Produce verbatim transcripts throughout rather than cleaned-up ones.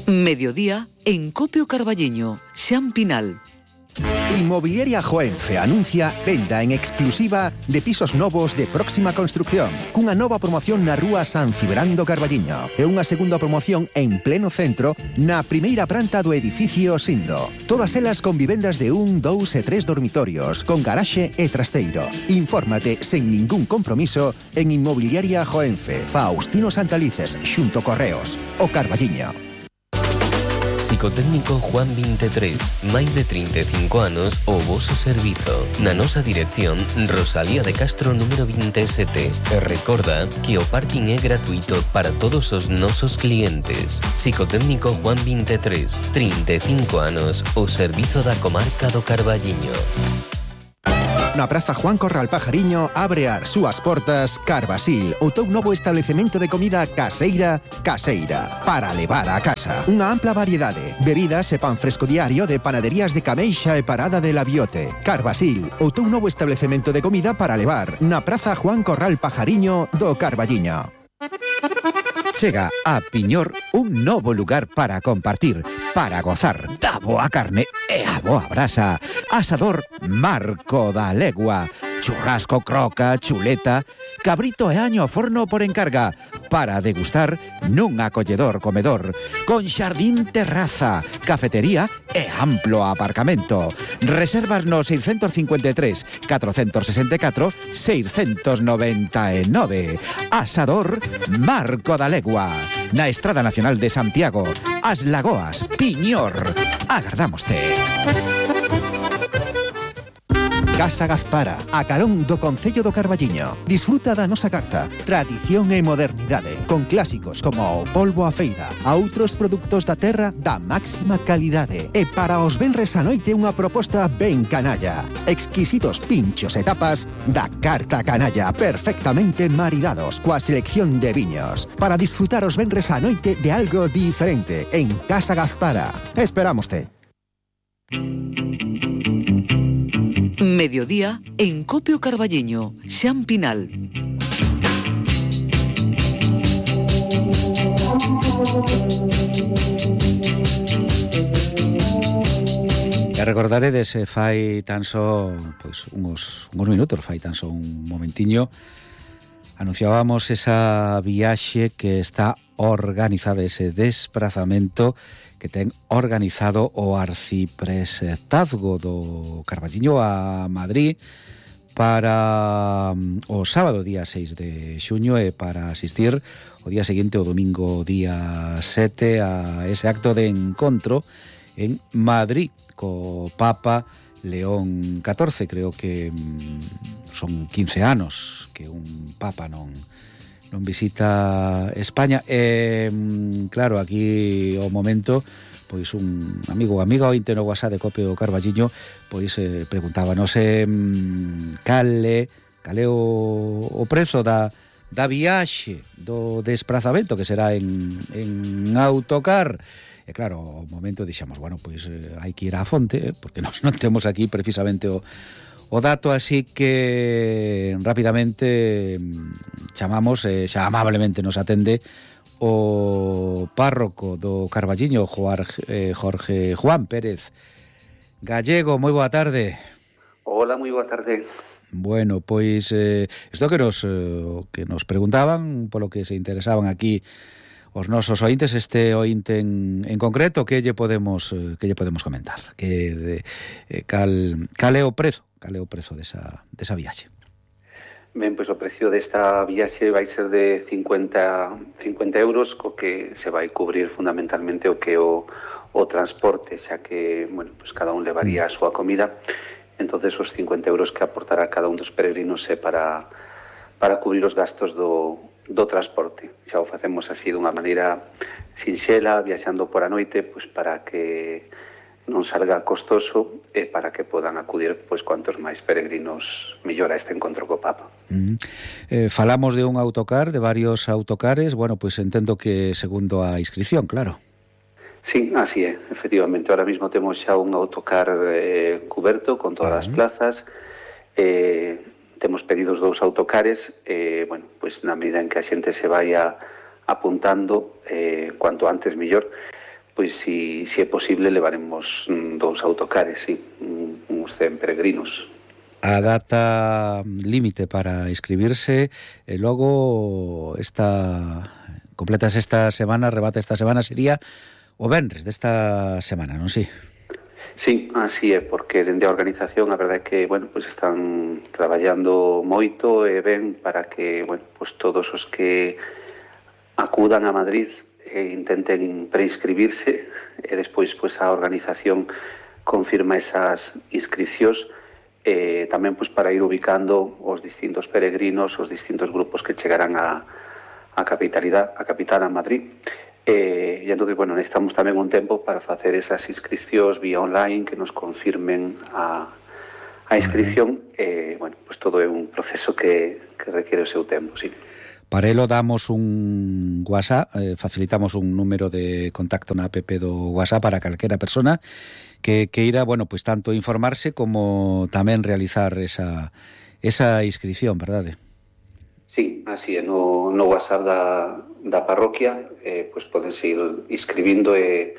Mediodía en Copio Carballiño, Xan Pinal. Inmobiliaria Joenfe anuncia venda en exclusiva de pisos novos de próxima construcción, cunha nova promoción na rúa San Cibrán do Carballiño e unha segunda promoción en pleno centro na primeira planta do edificio Sindo. Todas elas con vivendas de un, dous e tres dormitorios, con garaxe e trasteiro. Infórmate sen ningún compromiso en Inmobiliaria Joenfe, Faustino Santalices, xunto Correos, o Carballiño. Psicotécnico Juan veintitrés, máis de trinta e cinco anos o voso servizo. Na nosa dirección, Rosalía de Castro número veintisiete. E recorda que o parking é gratuito para todos os nosos clientes. Psicotécnico Juan veintitrés, trinta e cinco anos, o servizo da comarca do Carballiño. Na Praza Juan Corral Pajariño abre as súas portas Carvasil, o teu novo establecemento de comida caseira, caseira, para levar a casa. Unha ampla variedade, bebidas e pan fresco diario de panaderías de Cameixa e Parada de la Biote. Carvasil, o teu novo establecemento de comida para levar na Praza Juan Corral Pajariño do Carballiño. Chega a Piñor un novo lugar para compartir, para gozar da boa carne e a boa brasa. Asador Marco da Legua, churrasco, croca, chuleta, cabrito e año ao forno por encarga, para degustar nun acolledor comedor, con xardín terraza, cafetería e amplo aparcamento. Reservas no seiscentos cincuenta e tres, catrocentos sesenta e catro, seiscentos noventa e nove. Asador Marco da Legua, na Estrada Nacional de Santiago, As Lagoas, Piñor. Agardámoste. Casa Gazpara, a carón do Concello do Carballiño. Disfruta da nosa carta, tradición e modernidade, con clásicos como o polvo a feira, a outros produtos da terra da máxima calidade. E para os venres a noite unha proposta ben canalla. Exquisitos pinchos e tapas da carta canalla, perfectamente maridados coa selección de viños. Para disfrutar os venres a noite de algo diferente en Casa Gazpara. Esperámoste. Mediodía en Copio Carballiño, Xan Pinal. E recordaredes, eh, fai tan só pois, uns, uns minutos, fai tan só un momentiño, anunciábamos esa viaxe que está organizada, ese desprazamento que ten organizado o arciprestazgo do Carballiño a Madrid para o sábado día seis de xuño e para asistir o día seguinte, o domingo día sete, a ese acto de encontro en Madrid co Papa León catorce. Creo que son quince anos que un Papa non non visita España. E, claro, aquí o momento, pois un amigo amiga ointe no WhatsApp de Copio Carballiño, pois eh, preguntaba, non sei, cal é, cal é o, o prezo da, da viaxe, do desprazamento, que será en, en autocar. E claro, o momento dixemos, bueno, pois eh, hai que ir á fonte, eh, porque nós non temos aquí precisamente o O dato, así que rapidamente chamamos, eh, xa amablemente nos atende o párroco do Carballiño, Jorge, eh, Jorge Juan Pérez Gallego. Moi boa tarde. Hola, moi boa tarde. Bueno, pois eh, isto que nos eh, que nos preguntaban, polo que se interesaban aquí os nosos ointes, este ointe en, en concreto, que lle podemos eh, que lle podemos comentar? Que de, eh, cal cal é o prezo? Cal é o prezo desa desa viaxe? Ben, pois o precio desta viaxe vai ser de cincuenta euros, co que se vai cubrir fundamentalmente o que o, o transporte, xa que, bueno, pois cada un levaría a súa comida. Entonces os cincuenta euros que aportará cada un dos peregrinos é para para cubrir os gastos do do transporte. Xa o facemos así dunha maneira sinxela, viaxando por a noite, pois para que non salga costoso e para que podan acudir pois cuantos máis peregrinos mellor a este encontro co Papa. Mm. Eh, falamos de un autocar, de varios autocares, bueno, pois entendo que segundo a inscripción, claro. Sí, así é, efectivamente. Ahora mismo temos xa un autocar eh, cuberto con todas uh-huh. as plazas. Eh, temos pedidos dous autocares, eh, bueno, pois na medida en que a xente se vai a apuntando, eh, cuanto antes mellor, pois si, si é posible levaremos mm, dous autocares, sí, uns cen peregrinos. A data límite para inscribirse, e logo esta completas esta semana, remata esta semana, sería o venres desta semana, non si? Sí, así é, porque dende a organización a verdade é que, bueno, pues están traballando moito e ben para que, bueno, pues todos os que acudan a Madrid e intenten preinscribirse e despois pues a organización confirma esas inscripcións, eh, tamén pues para ir ubicando os distintos peregrinos, os distintos grupos que chegarán a, a capitalidade, a capital, a Madrid. Eh, e entón, bueno, necesitamos tamén un tempo para facer esas inscripcións vía online que nos confirmen a, a inscripción. Uh-huh. eh, bueno, pues todo é un proceso que, que requiere o seu tempo, sí. Para elo damos un WhatsApp, eh, facilitamos un número de contacto na app do WhatsApp para calquera persona que queira, bueno, pues tanto informarse como tamén realizar esa, esa inscripción, verdade? Sí, así é, no, no WhatsApp da, da parroquia, eh, pues podense ir inscribindo e,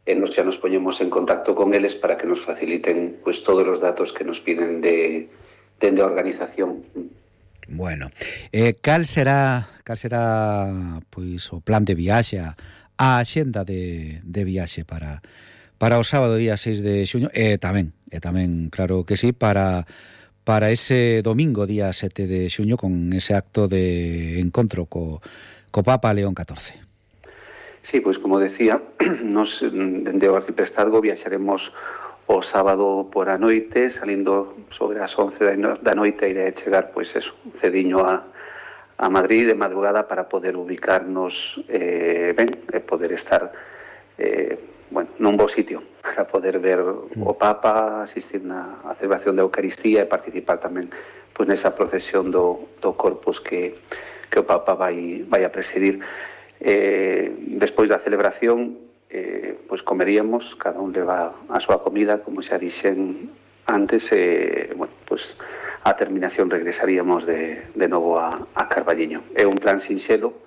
e nos xa nos poñemos en contacto con eles para que nos faciliten pues todos os datos que nos piden de, de, de organización. Bueno, eh, cal será cal será pois o plan de viaxe, a axenda de, de viaxe para para o sábado día seis de xuño e tamén, e tamén, claro que sí, para para ese domingo día sete de xuño con ese acto de encontro co, co Papa León catorce. Sí, pois como decía, nos dende o arciprestazgo viaxaremos o sábado por a noite, salindo sobre as once da noite, e de chegar, pois eso, cediño a, a Madrid de madrugada para poder ubicarnos eh, ben, e poder estar eh, bueno, nun bo sitio, para poder ver o Papa, asistir na a celebración da Eucaristía e participar tamén pois nesa procesión do, do Corpus que, que o Papa vai, vai a presidir. Eh, despois da celebración, eh, pois comeríamos, cada un leva a súa comida, como xa dixen antes, e, eh, bueno, pois a terminación regresaríamos de, de novo a, a Carballiño. É un plan sinxelo,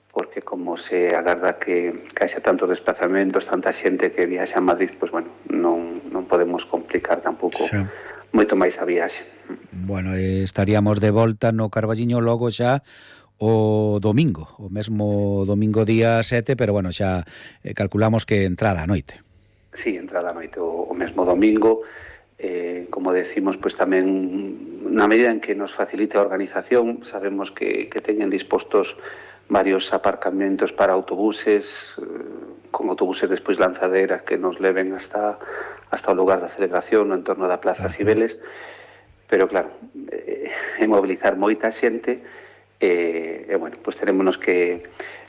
porque como se agarda que, que haxa tantos desplazamentos, tanta xente que viaxa a Madrid, pois bueno, non, non podemos complicar tampouco sí. moito máis a viaxe. Bueno, eh, estaríamos de volta no Carballiño logo xa o domingo, o mesmo domingo día sete, pero bueno, xa eh, calculamos que entrada a noite. Sí, entrada a noite o, o mesmo domingo. Eh, como decimos, pues tamén na medida en que nos facilite a organización, sabemos que, que teñen dispostos varios aparcamentos para autobuses, eh, con autobuses despois lanzaderas que nos leven hasta hasta o lugar da celebración no entorno da Plaza Cibeles, pero claro, eh, é mobilizar moita xente e, eh, bueno, pois pues terémonos que,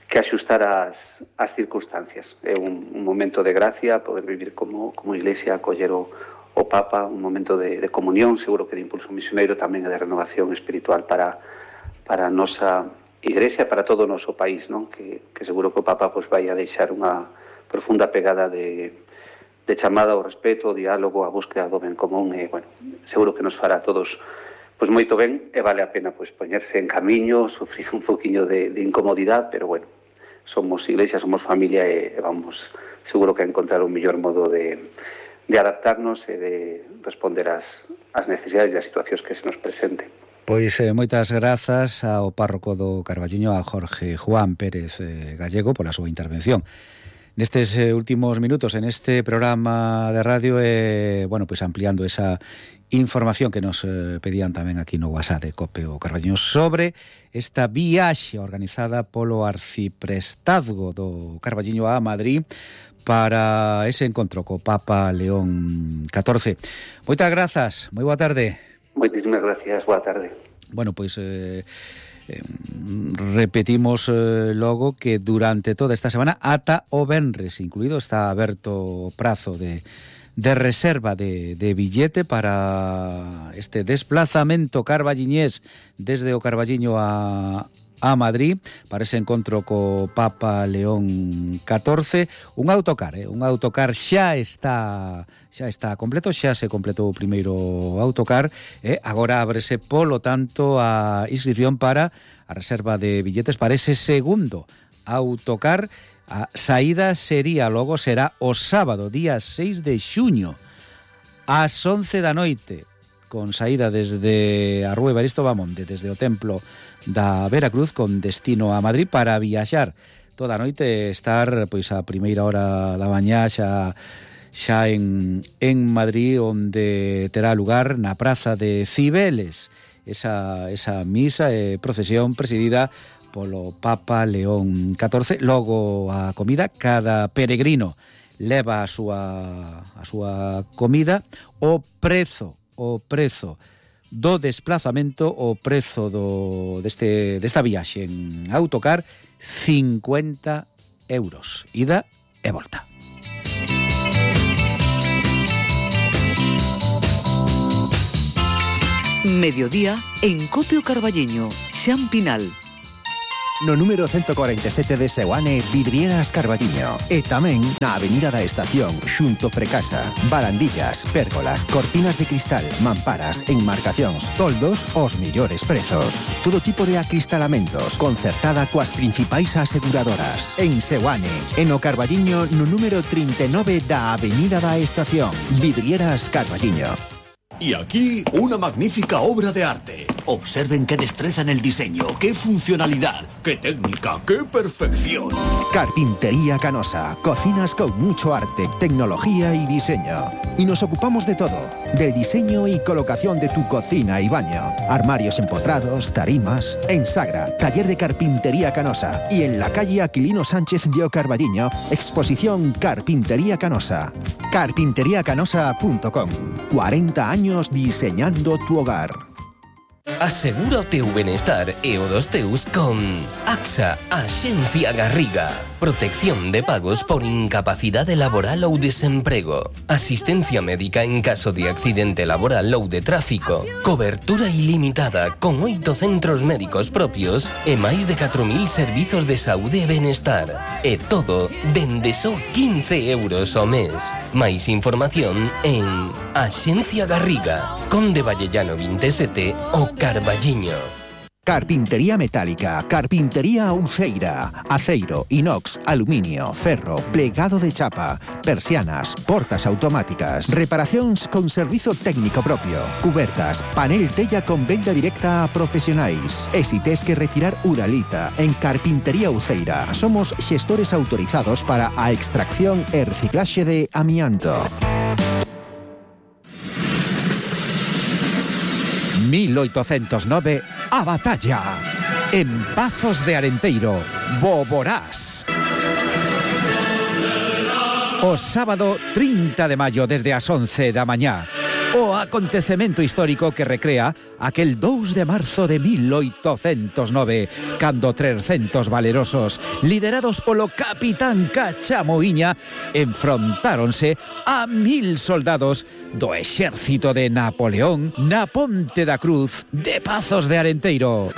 que axustar as, as circunstancias. É un, un momento de gracia, poder vivir como, como iglesia, acoller o, o Papa, un momento de, de comunión, seguro que de impulso misioneiro, tamén de renovación espiritual para, para a nosa igrexa, para todo o noso país, non? Que, que seguro que o Papa pois, vai a deixar unha profunda pegada de, de chamada ao respeto, ao diálogo, á búsqueda do ben común, e, bueno, seguro que nos fará a todos pois moito ben, e vale a pena pois poñerse en camiño, sufrir un poquinho de, de incomodidade, pero bueno, somos iglesia, somos familia e, e vamos seguro que a encontrar un mellor modo de, de adaptarnos e de responder ás, ás necesidades e ás situacións que se nos presenten. Pois eh, moitas grazas ao párroco do Carballiño, a Jorge Juan Pérez eh, Gallego, pola súa intervención nestes eh, últimos minutos en este programa de radio e, eh, bueno, pois ampliando esa información que nos eh, pedían tamén aquí no WhatsApp de Cope o Carballiño sobre esta viaxe organizada polo arciprestazgo do Carballiño a Madrid para ese encontro co Papa León catorce. Moitas grazas, moi boa tarde. Moitísimas gracias, boa tarde. Bueno, pois eh, eh, repetimos eh, logo que durante toda esta semana ata o venres incluído está aberto o prazo de, de reserva de, de billete para este desplazamento carballiñés desde o Carballiño a a Madrid para ese encontro co Papa León catorce, un autocar, eh? un autocar xa está xa está completo, xa se completou o primeiro autocar, e eh? agora ábrese polo tanto a inscripción para a reserva de billetes para ese segundo Autocar. A saída sería, logo será o sábado, día seis de xuño, ás once da noite, con saída desde a Rúa Evaristo Bamonde, desde o templo da Veracruz, con destino a Madrid, para viaxar toda a noite, estar pois a primeira hora da mañá xa xa en, en Madrid, onde terá lugar na Praza de Cibeles esa, esa misa e procesión presidida polo Papa León catorce. Logo a comida, cada peregrino leva a súa a súa comida. O prezo, o prezo do desplazamento, o prezo do deste desta viaxe en autocar, cincuenta euros, ida e volta. Mediodía en Copio Carballiño, Xan Pinal. No número ciento cuarenta y siete de Seoane, Vidrieras Carballiño. E tamén na Avenida da Estación, xunto Precasa. Barandillas, pérgolas, cortinas de cristal, mamparas, enmarcacións, toldos, os millores prezos. Todo tipo de acristalamentos, concertada coas principais aseguradoras. En Seoane, en o Carballiño, no número treinta y nueve da Avenida da Estación. Vidrieras Carballiño. Y aquí, una magnífica obra de arte. Observen qué destreza en el diseño, qué funcionalidad, qué técnica, qué perfección. Carpintería Canosa. Cocinas con mucho arte, tecnología y diseño. Y nos ocupamos de todo. Del diseño y colocación de tu cocina y baño. Armarios empotrados, tarimas. En Sagra, taller de Carpintería Canosa. Y en la calle Aquilino Sánchez de O Carballiño, exposición Carpintería Canosa. carpintería canosa punto com. cuarenta años diseñando tu hogar. Asegura o teu benestar e o dos teus con AXA, Axencia Garriga. Protección de pagos por incapacidade laboral ou desemprego. Asistencia médica en caso de accidente laboral ou de tráfico. Cobertura ilimitada con oito centros médicos propios e máis de catro mil servizos de saúde e benestar. E todo dende só quince euros ao mes. Máis información en Axencia Garriga, Conde Vallellano veinte e sete, o Carballiño. Carpintería metálica, carpintería Uceira, aceiro, inox, aluminio, ferro, plegado de chapa, persianas, portas automáticas, reparacións con servizo técnico propio, cubertas, panel tella con venda directa a profesionais. E si tes que retirar uralita, en Carpintería Uceira somos xestores autorizados para a extracción e reciclaxe de amianto. mil oitocentos nove, a batalla. En Pazos de Arenteiro, Boborás. O sábado trinta de maio, desde as once da mañá. O acontecemento histórico que recrea aquel dous de marzo de mil oitocentos nove, cando trescentos valerosos, liderados polo capitán Cachamoiña, enfrontáronse a mil soldados do exército de Napoleón na Ponte da Cruz de Pazos de Arenteiro.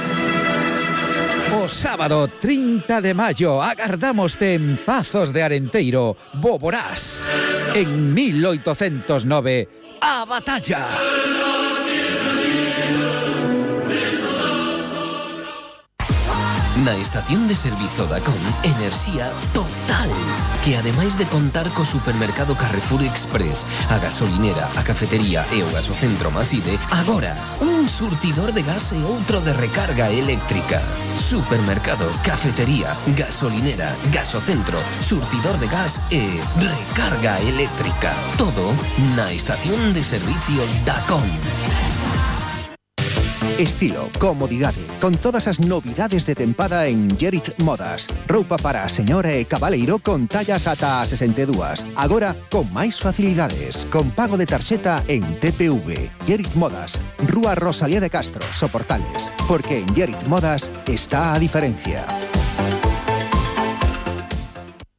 O sábado trinta de maio agardámoste en Pazos de Arenteiro, Boborás. En mil oitocentos nove, a batalla. Na estación de servizo Dacon, enerxía total, que ademais de contar co supermercado Carrefour Express, a gasolinera, a cafetería e o gasocentro Maside, agora un surtidor de gas e outro de recarga eléctrica. Supermercado, cafetería, gasolinera, gasocentro, surtidor de gas e recarga eléctrica. Todo na estación de servicio Dacon. Estilo, comodidade, con todas as novidades de tempada en Gerit Modas. Roupa para a señora e cabaleiro con tallas ata a sesenta e dúas. Agora con máis facilidades, con pago de tarxeta en T P V. Gerit Modas, Rúa Rosalía de Castro, Soportales. Porque en Gerit Modas está a diferencia.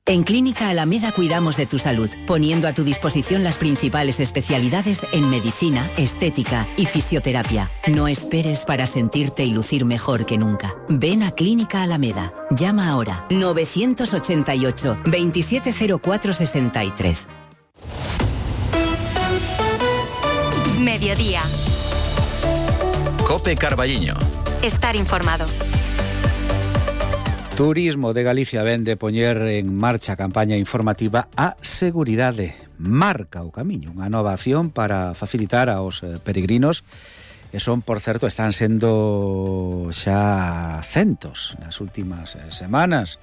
En Clínica Alameda cuidamos de tu salud, poniendo a tu disposición las principales especialidades en medicina, estética y fisioterapia. No esperes para sentirte y lucir mejor que nunca. Ven a Clínica Alameda. Llama ahora novecientos ochenta y ocho, veintisiete cero cuatro sesenta y tres. Mediodía. Cope Carballiño. Estar informado. Turismo de Galicia ven de poñer en marcha a campaña informativa A Seguridade marca o camiño, unha nova acción para facilitar aos peregrinos, e son, por certo, están sendo xa centos nas últimas semanas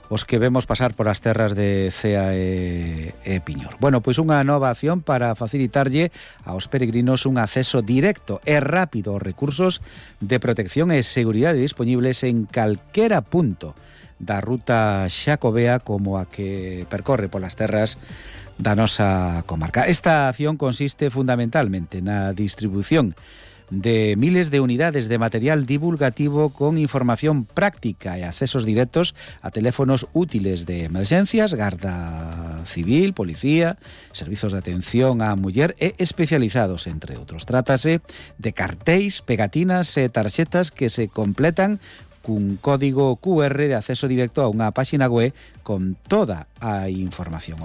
os que vemos pasar por as terras de Cea e, e Piñor. Bueno, pois unha nova acción para facilitarlle aos peregrinos un acceso directo e rápido aos recursos de protección e seguridade disponibles en calquera punto da ruta xacobea como a que percorre polas terras da nosa comarca. Esta acción consiste fundamentalmente na distribución de miles de unidades de material divulgativo con información práctica e accesos directos a teléfonos útiles de emerxencias, Garda Civil, Policía, servizos de atención á muller e especializados, entre outros. Trátase de cartéis, pegatinas e tarxetas que se completan cun código Q R de acceso directo a unha páxina web con toda a información.